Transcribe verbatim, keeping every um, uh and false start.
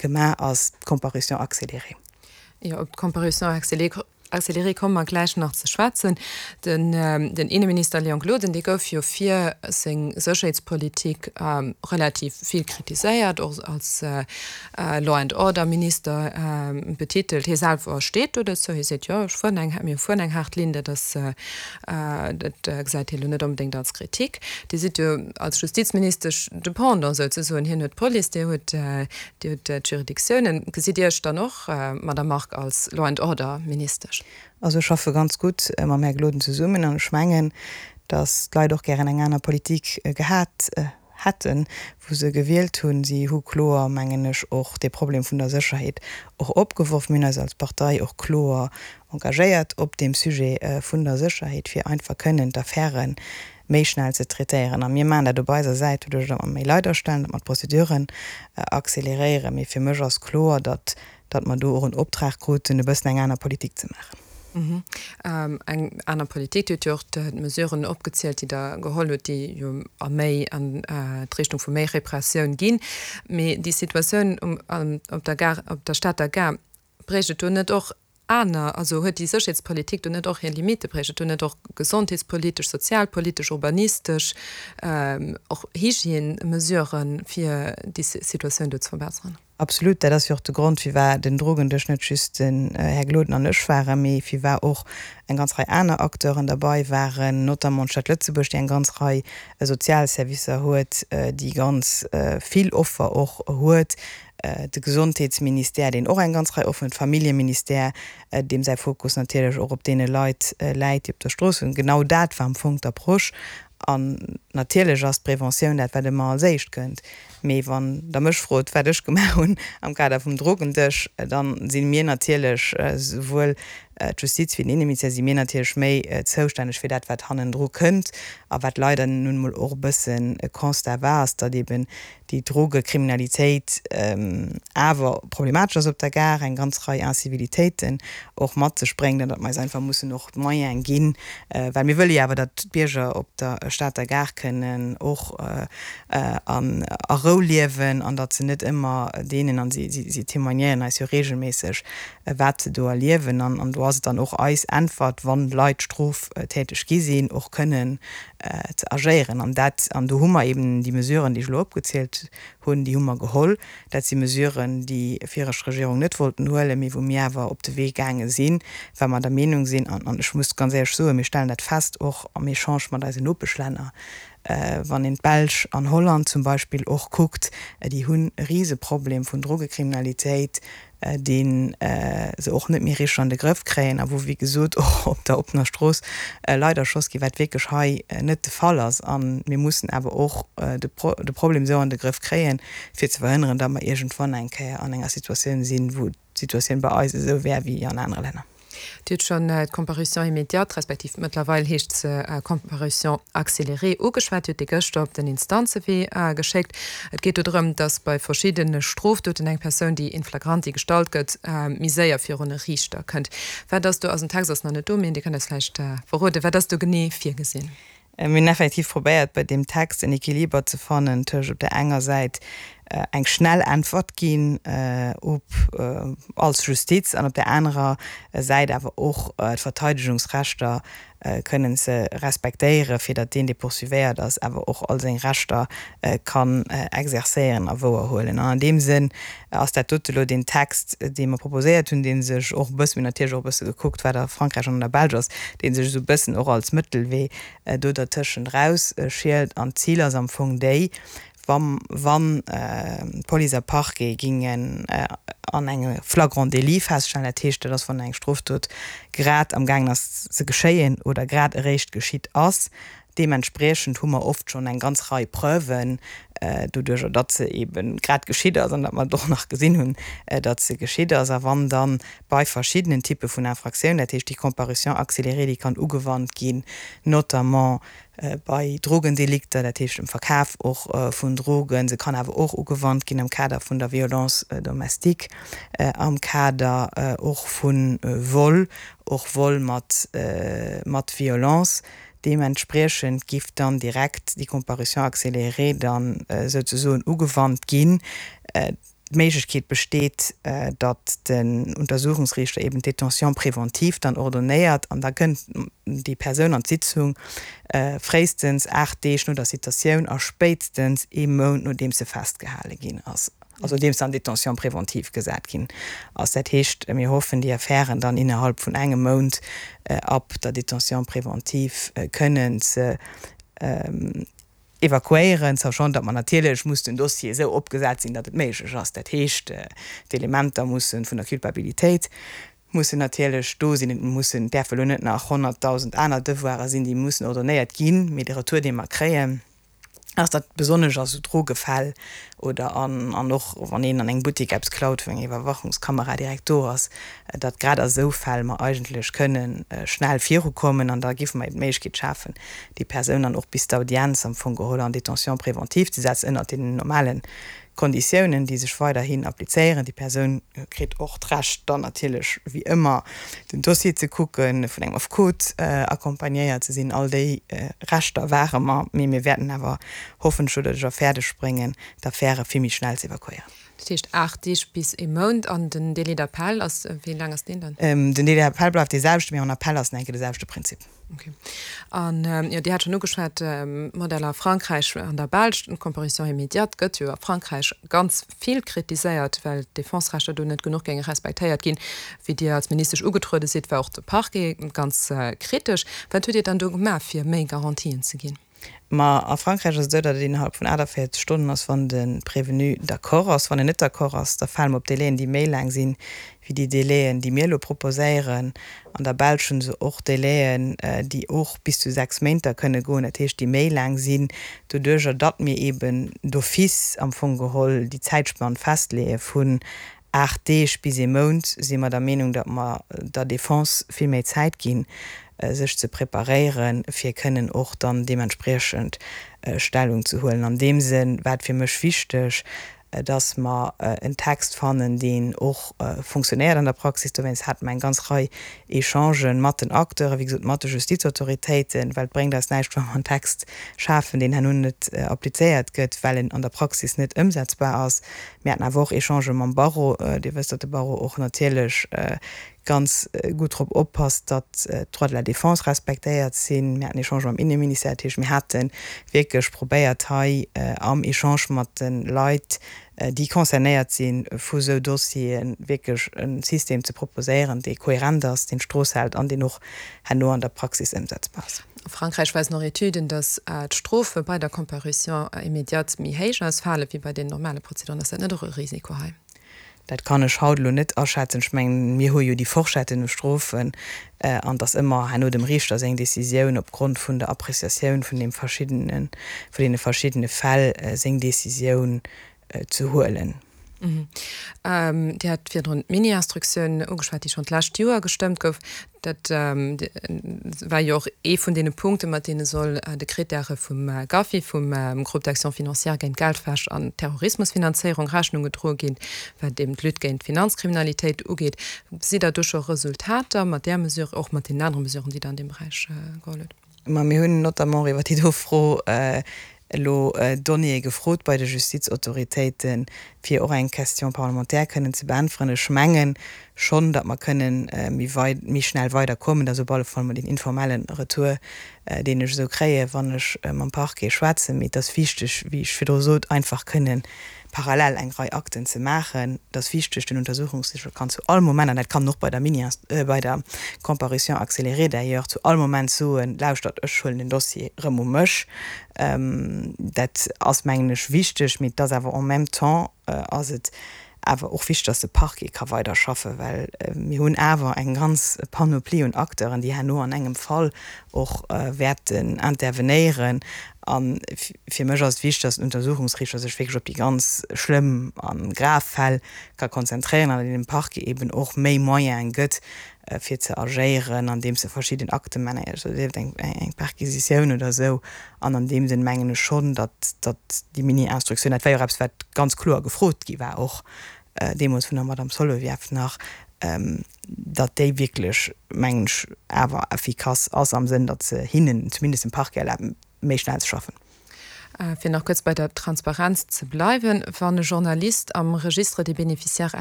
gemaach ass, d'Comparution accélérée. Jo, op d'Comparution accélérée komme mer gläich nach ze schwätzen. Den Inneminister Léon Gloden, dee gouf jo fir seng Sécherheetspolitik relativ vill kritiséiert, och als Law and Order Minister betitelt. Hie selwer steet do dozou, hie seet, jo, ech fueren eng, mir fueren eng haart Linn, dat ass, dat gesäit hie lo net onbedéngt als Kritik. Dir sidd jo als Justizministesch de Pendant souzesoen, hien huet d'Police, Dir hutt, Dir hutt d'Juridictiounen. Gesitt Dir Iech dann och, Madamm Margue, als Law and Order Ministesch? Also ech schaffe ganz gutt mam Här Gloden zesummen an ech mengen, datt d'Leit och gären eng aner Politik gehat hätten, wou se gewielt hunn. Si hu kloer, mengen ech, och dee Problem vun der Sécherheet och opgeworf. Mir hunn eis als Partei och kloer engagéiert op deem Sujet vun der Sécherheet, fir einfach kënnen d'Affäre méi schnell ze traitéieren. A mir maachen dat op eiser Säit doduerch, datt mer méi Leit astellen, datt mer d'Prozeduren acceleréieren. Mee fir mech ass kloer, datt datt mer do och en Optrag kruten, e bëssen eng aner Politik ze maachen. Eng aner Politik. Dir hutt jo och d'Mesuren opgezielt, déi Der geholl hutt, déi jo a méi an d'Richtung vu méi Repressioun ginn. Mee déi Situatioun op der Gare, op der Stater Gare, bréicht et do net och aner, also huet déi Sécherheetspolitik do net och hir Limite? Bréicht et do net och gesondheetspolitesch, sozialpolitesch, urbanistesch, och Hygiène-Mesuren, fir déi Situatioun do ze verbessern? Absolut, dat ass jo och de Grond, firwat den Drogendësch net just den Här Gloden an ech waren, mee firwat och eng ganz Rei aner Acteuren derbei waren, notamment d'Stad Lëtzebuerg, déi eng ganz Rei Sozialservicer huet, déi ganz vill Offer och huet, de Gesondheetsministère, deen och eng ganz Rei Offeren huet, d'Familljeministère, deem säi Fokus natierlech och op deene Leit läit, déi op der Strooss sinn. Genau dat war am Fong d'Approche. An natierlech ass d'Preventioun dat, wat ëmmer als éischt kënnt. Mee wann Der mech frot, wat ech gemaach hunn am Kader vum Drogendësch, da si mir natierlech, souwuel d'Justiz wéi den Inneministère, si mir natierlech méi zoustänneg fir dat, wat hannendru kënnt. A wat leider nun emol och e bëssen e Constat war, ass, datt eeben déi Drogekriminalitéit awer problematesch ass op der Gare, eng ganz Rei Incivilitéiten och mat sech bréngt an datt mer eis einfach mussen och d'Moyene ginn, well mir wëlle jo awer, datt d'Bierger op der Stater Gare kënnen och a Rou liewen an datt se net ëmmer deenen, an si témoignéieren eis jo regelméisseg, wat se do erliewen. An do ass et dann och eis Äntwert, wann Leit stroftäteg gi sinn, och kënnen ze agéieren. An dat, an do hu mer eben déi Mesuren, déi ech elo opgezielt hunn, déi hu mer geholl. Dat si Mesuren, déi viregt Regierung net wollten huelen, mee wou mir awer op de Wee gaange sinn, well mer der Meenung sinn, an ech muss ganz éierlech soen, mir stellen dat fest och am Echange mat eisen Nopeschlänner, wann een d'Belsch an Holland zum Beispill och kuckt, déi hunn e Riseproblem vun Drogekriminalitéit, dee se och net méi richteg an de Grëff kréien a wou, wéi gesot, och op der oppener Strooss Leit erschoss ginn, wat wierklech hei net de Fall ass. A mir mussen awer och de Problem esou an de Grëff kréien, fir ze verhënneren, datt mer iergendwann eng Kéier an enger Situatioun sinn, wou d'Situatioun bei eis esou wär wéi an anere Länner. Dir hutt schonn d'Comparution immédiate, respektiv mëttlerweil heescht se Comparution accélérée, ugeschwat. Dir hutt déi gëschter op den Instanzewee geschéckt. Et geet do drëm, datt bei verschiddene Strofdoten eng Persoun, déi in flagranti gestallt gëtt, méi séier virun e Riichter kënnt. Wat ass do, also den Text ass nach net do, mee Dir kënnt eis vläicht verroden, wat ass do genee virgesinn? Mir hunn effektiv probéiert, bei deem Text en Equiliber ze fannen tëscht op där enger Säit eng schnell Äntwert ginn op als Justiz an op där anerer Säit awer och d'Verteidegungsrechter kënnen ze respektéieren, fir datt deen, dee poursuivéiert ass, awer och all seng Rechter kann exercéieren a wouerhuelen. An an deem Sënn ass dat dote elo deen Text, dee mer proposéiert hunn, dee sech och e bëssen, mir hunn natierlech och e bësse gekuckt, wat a Frankräich an an der Belsch ass, dee sech esou e bëssen och als Mëttelwee do dertëschent erausschielt. An d'Zil ass am Fong déi, wa wann d'Police a Parquet gingen an engem Flagrant délit feststellen, dat heescht, dat ass wann eng Strofdot grad amgaangen ass ze geschéien oder grad eréischt geschitt ass, deementspriechend hu mer oft schonn eng ganz Rei Preuven, doduerjer datt se eebe grad geschitt ass an datt mer et och nach gesinn hunn, datt se geschitt ass. A wann dann bei verschiddenen Typpe vun Infractiounen, dat heescht déi Comparution accélérée, déi kann ugewannt ginn, notamment bei Drogendelikter, dat heescht dem Verkaf och vun Drogen, se kann awer och ugewannt ginn am Kader vun der Violence domestique, am Kader och vu Vol, och Vol mat mat Violence. Deementspriechend giff dann direkt déi Comparution accélérée dann souzesoen ugewannt ginn. d'Méiglechkeet besteet, datt den Untersuchungsriichter eben d'Détention préventive dann ordonnéiert an da kënnt déi Persoun an d'Sitzung fréistens aacht Deeg no der Citatioun a spéitstens ee Mount nodeems se festgehale ginn ass, also nodeems se an Détention préventive gesat ginn ass. Dat heescht, mir hoffen, déi Affären dann innerhalb vun engem Mount ab der Détention préventive kënnen ze evakuéieren, sachant datt mer natierlech muss den Dossier esou opgesat sinn, datt et méiglech ass. Dat heescht, d'Elementer mussen vun der Culpabilitéit mussen natierlech do sinn, et mussen, et däerfe lo net nach honnertdausend aner Devoiren sinn, déi mussen ordonnéiert ginn, mee de Retour, dee mer kréien, ass, datt besonnesch a sou Drogefäll oder an an och wann een an engem Buttek eppes klaut, wou eng Iwwerwachungskamera direkt do ass, datt grad a sou Fäll mer eigentlech kënne schnell virukommen an da géife mer eben d'Méiglechkeet schafen, déi Persoun dann och bis d'Audienz am Fong geholl en détention préventive ze setzen, ënnert deenen normale Konditiounen, déi sech weiderhin applizéieren. Déi Persoun kritt och d'Recht dann natierlech wéi ëmmer den Dossier ze kucken, vun engem Affekot accompagnéiert ze sinn. All déi Rechter ware mer, mee mir wäerten awer hoffentlech oder et och fäerdeg bréngen, d'Affäre vill méi schnell ze evakuéieren. Dat heescht aacht Deeg bis ee Mount. An den Délai d'appel ass, wéi laang ass deen dann? Den Délai d'appel bleift dee selwechten, mee en Appel ass nach eng Kéier de selwechte Prinzip. Ok. An, jo, Dir hat schonn ugeschwat, d'Modeller a Frankräich an der Belsch. D'Comparution immédiate gëtt jo a Frankräich ganz vill kritiséiert, well d'Defense-Rechter do net genuch géinge respektéiert ginn. Wéi Dir als Ministesch ugetruede sidd, war och de Parquet ganz kritesch. Wat hutt Dir dann do gemaach, fir méi Garantien ze ginn? Ma a Frankräich ass et esou, datt et innerhalb vun aachtavéierzeg Stonnen ass, wann de Prévenu d'accord ass. Wann en net d'accord ass, da fale mer op Délaiën, déi méi laang sinn wéi déi Délaiën, déi mir elo proposéieren. An der Belsch hu se och Délaiën, déi och bis zu sechs Méint da kënne goen, dat heescht, déi méi laang sinn, doduerjer datt mir eeben d'office am Fong geholl déi Zäitspann festleeë vun aacht Deeg bis ee Mount, si mer der Meenung, datt mer der Defense vill méi Zäit ginn, sech ze preparéieren, fir kënnen och dann deementspriechend Stellung ze huelen. An deem Sënn war et fir mech wichteg, datt mer en Text fannen, deen och funktionéiert an der Praxis. Dowéinst hate mer eng ganz Rei Echangen mat den Acteuren, wéi gesot mat de Justizautoritéiten, well et bréngt eis näischt, wa mer en Text schafen, deen herno net applizéiert gëtt, well en an der Praxis net ëmsetzbar ass. Mir haten awer och Echangë mam Barreau. Dir wësst, datt de Barreau och natierlech ganz gutt drop oppasst, datt d'Droits de la défense respektéiert sinn. Mir haten Echangë mam Inneministère. Dat heescht, mir hate wierklech probéiert, hei am Echange mat de Leit, déi concernéiert si vu sou Dossieren, wierklech e System ze proposéieren, dee kohärent ass, deen d'Strooss hält an deen och herno an der Praxis ëmsetzbar ass. A Frankräich weisen och Etüden, datt d'Strofe bei der Comparution immédiate méi héich ausfale wéi bei den normale Prozeduren. Ass dat net och e Risiko hei? Dat kann ech haut elo net aschätzen. Ech mengen, mir hu jo déi Forschetten u Strofen an et ass ëmmer herno dem Riichter seng Décisioun opgrond vun der Appréciatioun vun deem verschiddenen, vun deene verschiddene Fäll seng Décisioun ze huelen. Dir hat virdrun d'Mini-Instruktioun ugeschwat, déi schonn d'lescht Joer gestëmmt gouf. Dat war jo och ee vun deene Punkten, mat deene soll de Krittäre vum GAFI, vum Groupe d'action financière géint Geldwäsch an Terrorismusfinanzéierung, Rechnung gedroe ginn, wat eben d'Lutte géint d'Finanzkriminalitéit ugeet. Sidd Der do scho Resultater mat där Mesure, och mat deenen anere Mesuren, déi Der an deem Beräich geholl hutt? Ma mir hunn notamment iwwer déi do Fro elo Donnéeë gefrot bei de Justizautoritéiten, fir och eng Question parlementaire kënnen ze beäntweren. Ech menge schonn, datt mer kënnen méi wei méi schnell weiderkommen. Dat ass op alle Fall mol deen informelle Retour, deen ech esou kréien, wann ech mam Parquet schwätzen. Mee et ass wichteg, wéi ech virdru sot, einfach kënnen parallel eng Rei Akten ze maachen. Et ass wichteg, den Untersuchungsriichter kann zu all Moment, an dat kann en och bei der Mini, bei der Comparution accélérée d'ailleurs, zu all Moment soen, Lauschtert, ech huelen den Dossier erëm u mech. Dat ass, mengen ech, wichteg, mee et ass awer en même temps ass et awer och wichteg, dass de Parquet ka weiderschaffen, well mir hunn awer eng ganz Panoplie un Acteuren, déi herno an engem Fall och wäerten intervenéieren. A fir mech ass et wichteg, dass den Untersuchungsriichter sech wierklech op déi ganz schlëmm a grav Fäll ka konzentréieren an dem Parquet eben och méi Moyene gëtt, fir ze agéieren, andeems e verschidden Akte maacht, also sief et eng Perquisitioun oder esou. An an deem Sënn mengen ech schonn, datt datt déi Mini-Instruktioun, dat war jo och eppes, wat ganz kloer gefrot gi war, och deemools vun der Madame Solovieff nach, datt déi wierklech, mengen ech, awer effikass ass am Sënn, datt se hinnen, zumindest dem Parquet, erlaabt, méi schnell ze schaffen. Fir nach kuerz bei der Transparenz ze bleiwen, Wann e Journalist am Registre des bénéficiaires